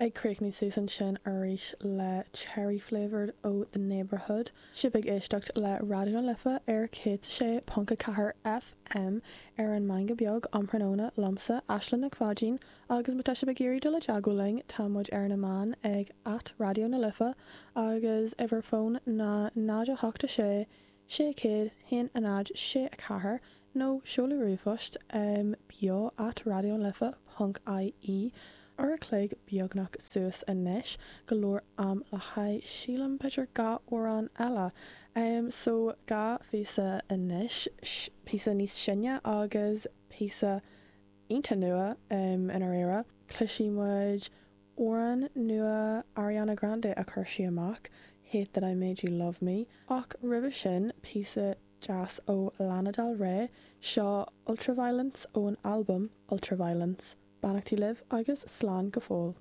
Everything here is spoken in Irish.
Ag críochnú suas ansin arís le Cherry Flavoured ó The Neighbourhood. Sibh ag éisteacht le Raidió na Life ar 106.4 FM ar an Meangadh Beag um thráthnóna liomsa, Aisling Nic Pháidín, agus má tá sibh ag iarraidh dul i dteagmháil linn, tá muid ar na meáin ag at Raidió na Life agus uimhir fóin ná 0 8 6 600 1 0 6 4 nó seoladh ríomhphost beo at raidionalife ponc ie Uair a chloig beagnach suas anois, go leor am le haghaidh, sílim, b'fhéidir 2 amhrán eile. So, 2 phíosa anois, píosa níos sine agus píosa iontach nua i ndáiríre. Cloisfidh muid amhrán nua Ariana Grande a chuir sí amach, Hate That I Made You Love Me, ach roimhe sin, píosa deas ó Lana Del Rey, seo Ultraviolence ón albam Ultraviolence. Beannachtaí libh agus slán go fóill.